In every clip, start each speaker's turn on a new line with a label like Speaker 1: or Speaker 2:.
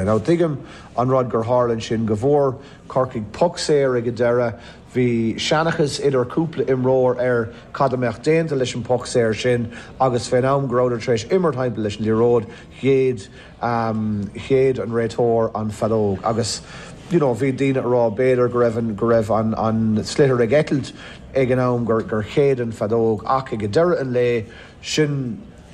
Speaker 1: é. Now tuigim an rud gur tharla ansin, go bhfuair Corcaigh poc saor ag an deireadh, bhí seanchas idir cúpla imreoir ar cad a mbeadh déanta leis an poc saor sin agus fén am go rabhadar tar éis imirt thimpeall leis an liathróid, shéid shéid an réiteoir an feadóg agus you know bhí daoine a rá b'fhéidir go raibh an go raibh an an sliotar ag eitilt ag an am gur gur shéid an feadóg ach ag deireadh an lae sin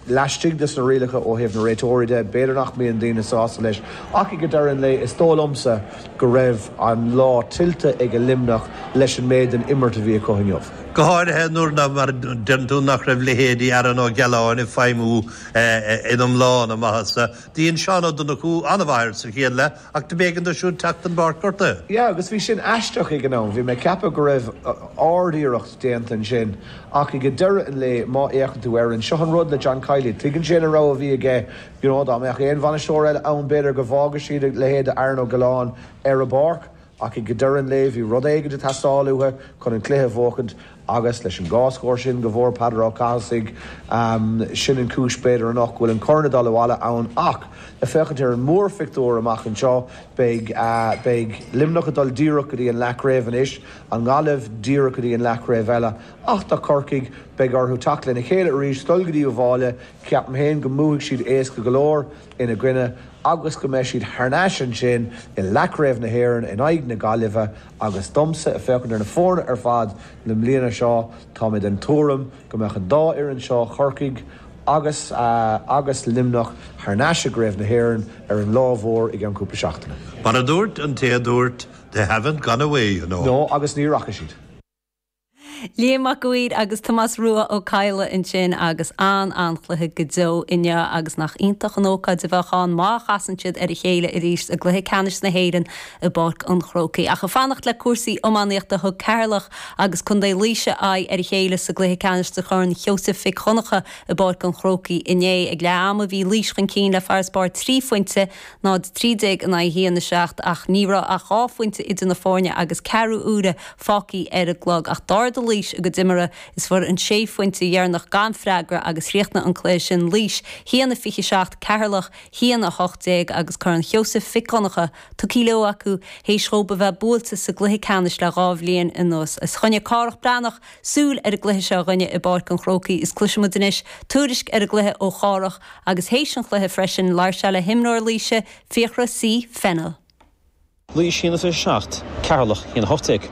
Speaker 1: laistigh des na rialacha ó thaobh na réiteoirí de, b'fhéidir nach mbíonn daoine sásta leis ach ag deireadh an lae is dóigh liomsa go raibh an lá tuillte ag Luimneach leis an méid den imirt a bhí acu inniu.
Speaker 2: Go háirithe nuair nach, mar a deireann tú, nach raibh leithéidí Aaron Ó Gealláin ag feidhmiú in iomlán a maitheasa. Dhein Seán Ó Donnchú an-mhaith air sa chéad leath ach do b'éigean dó siúd teacht den bpáirc gortaithe.
Speaker 1: Yeah agus bhí sin aisteach ag an am. Bhí mé ag ceapadh go raibh ard-iarracht déanta ansin ach ag deireadh an lae má fhéachann tú air, seo an rud le John Kiely, tuigeann sé na rogha a bhí aige, you know dá mbeadh aon bhainisteoir eile ann b'fhéidir go bhfágadh siad a leithéid de Aaron Ó Gealláin ar an bpáirc. Ach ag deireadh an lae bhí rud éigin ag teastáil uathu chun an cluiche a bhuachaint agus leis an dhá scór sin go bhfuair Peadar Ó Cathasaigh, sin an chúis b'fhéidir anocht go bhfuil an corn ag dul abhaile ann. Ach ag féachaint ar an mórphictiúr amach anseo, beidh beidh Luimneach ag dul díreach go dtí an leathchraobh anois, an Ghaillimh díreach go dtí an leathchraobh eile. Ach do Chorcaigh, beidh orthu teacht lena chéile arís, dul go dtí Uíbh Fhailí, ceapaim féin go mbuafaidh siad éasca go leor ina gcoinne. agus go mbeidh siad thar n-ais ansin i leathchraobh na hÉireann in aghaidh na Gaillimhe agus domsa, ag féachaint ar na foirne ar fad na bliana seo, tá mé den tuairim go mbeadh an dá fhoireann seo, Corcaigh agus agus Luimneach, thar n-ais i gcraobh na hÉireann ar an lá mhór i gceann cúpla seachtaine.
Speaker 2: Mar a dúirt an té a dúirt, They haven't gone away, you know.
Speaker 1: No, agus ní rachaidh siad.
Speaker 3: Liam Mac a' Mhaoir agus Tomás Rua Ó Cadhla ansin agus an-an-chluiche go deo inniu agus nach iontach an ócáid a bheadh ann má chasann siad ar a chéile arís i gcluiche ceannais na hÉireann i bPáirc an Chrócaigh. Ach ag fanacht le cúrsaí iománaíochta thug Ceatharlach agus Contae Laoise aghaidh ar a chéile sa gcluiche ceannais de Chorn Sheosaimh Mhic Dhonncha i bPáirc an Chrócaigh inné. Ag leath ama bhí Laois chun cinn le farasbarr 3 phointe 0-13 in aghaidh 1-7 ach ní raibh ach 2 phointe idir na foirne agus ceathrú uaire fágtha ar an gclog. Ach d'ardaigh Laois a gcuid imeartha is fuair an sé phointe dheireanach gan freagra agus chríochnaigh an cluiche sin Laois 1-27, Ceatharlach 1-18 agus Corn Sheosaimh Mhic Dhonncha tugtha leo acu théis dhóibh a bheith buailte sa gcluiche ceannais le 2 bhliain anuas. Is choinnigh Cárthach Breathnach súil ar an gcluiche seo a dhuine i bPáirc an Chrócaigh is cloisfidh muid anois tuairisc ar an gcluiche ó Chárthach Agus théis an chluiche freisin, labhair sé le himreoir Laoise, Fiachra C. Fennell.
Speaker 4: Laois 1-27, Ceatharlach 1-18.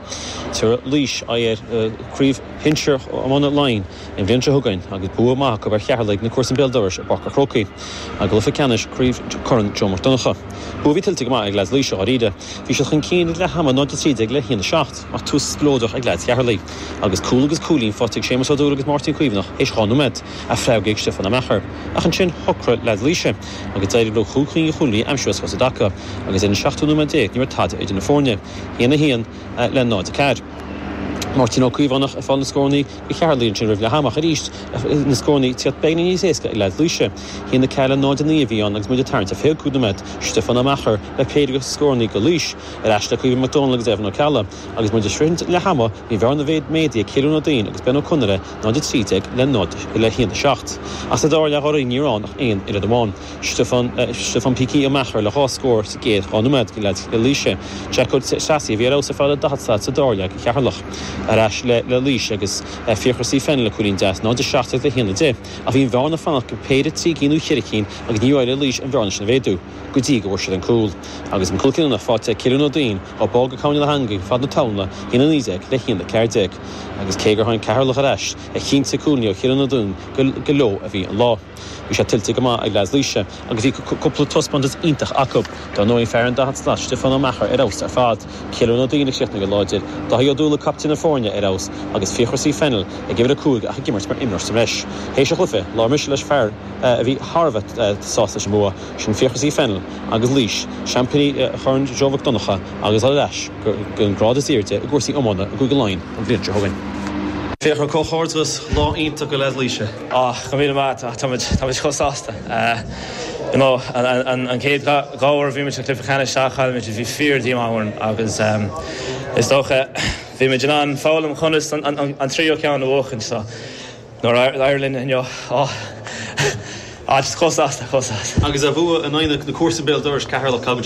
Speaker 4: Tabharfaidh Laois aghaidh ar Chraobh Shinsir Iomána Laighean an bhliain seo chugainn agus bua maith acu ar Cheatharlaigh na comharsan béal dorais i bPáirc an Chrócaigh i gcluiche ceannais Chraobh Chorn Joe Mac Donncha. Bua a bhí tuillte go maith ag leaids Laoise dháiríre. Bhí siad chun cinn ag leath ama 0-13 le 1-7 ach tús spleodrach ag leaids Cheatharlaigh agus cúl agus cúilín faighte ag Séamus Ó Dúill agus Máirtín Caomhánach théis 2 nóiméad. A freagraithe ag Stiofán Ó Meachair. Ach ansin shocraigh leaids Laoise agus d'éirigh leo chúig chinn de chúilíní a aimsiú as cos i dtaca agus ar an seachtú nóiméad déag ní raibh tada idir na foirne, 1-1 le 0-4. Máirtín Ó Caomhánach ag fáil na scórannaí do Cheatharlaigh ansin roimh leath ama ach arís na scórannaí ag tíocht beagáinín níos éasca ag leaids Laoise. 1-4 le 0-9 a bhí ann agus muid ag tarraingt ar 25 nóiméad. Stiofán Ó Meachair le péire de scórannaí do Laois. Ar ais le Caoimhín Mac Dónaill agus Evan Ó Ceallaigh agus muid ag sroichint leath ama bhí an bhearna méadaithe ag Cillian Ó Duinn agus Ben Ó Conaire 0-13 le 0 le 1 7. Ach sa dara leath dháiríre ní raibh ann ach aon oiread amháin. Stiofán Stiofán Pící Ó Meachair le 2 scór sa gcéad 2 nóiméad do leaids Laoise. Jack Ó Treasaigh a bhí ar fheabhas ar fad le 40 slat sa dara leath do Cheatharlach. Ar ais le le Laois agus Fiachra C Fennell le cúilín deas 0-17 le 1 10. Ach bhí an bhearna ag fanacht go péire 3 cinn nó 4 cinn agus níor éirigh le Laois an bhearna sin a mhéadú. go dtí go bhfuair siad an cúl. Agus an cúl cinniúnach faighte ag Cillian Ó Duinn á bá go coimhne na heangaí fad na talmhna, 1-19 le 1-14. Agus cé gur tháinig Ceatharlach ar ais, ar chinnte cúilíní ó Chillian Ó Duinn gur leo a bhí an lá. Bhí sé tuillte go maith ag leaids Laoise agus bhí cúpla taispeántas iontach acu. Dar ndóigh fear an 40 slat, Stiofán Ó Meachair ar fheabhas ar fad, Cillian Ó Duinn a chríochnaigh go láidir, Dáithí Ó Dúlaigh captaen na foirne ar fheabhas agus Fiachra C Fennell ag uimhir 5 ach ag imirt mar imreoir sa mbreis. Théis an chluiche, labhair mise leis fear a bhí thar a bheith sásta leis an mbua, sin Fiachra C Fennell agus Laois, seaimpíní Chorn Joe Mhic Donncha agus dul ar ais go an grád is airde i gcúrsaí iomána i gCúige Laighean an bhliain seo chugainn.
Speaker 5: Fiachra, comhghairdeas, lá iontach do leaids Laoise.
Speaker 6: Ah, go raibh míle maith agat, tá muid, tá muid chomh sásta. You know, an, an chéad 2 uair a bhí muid sa chluiche ceannais a chaill muid, bhí fíor díomá orainn agus is dócha bhí muid in ann foghlaim conas an, an, an tríú ceann a bhuachaint so Nuair a d'éirigh linn inniu, á, á, just chomh sásta, chomh sásta.
Speaker 5: Agus a bhua in aghaidh na comharsan béal dorais, Ceatharlach, cad.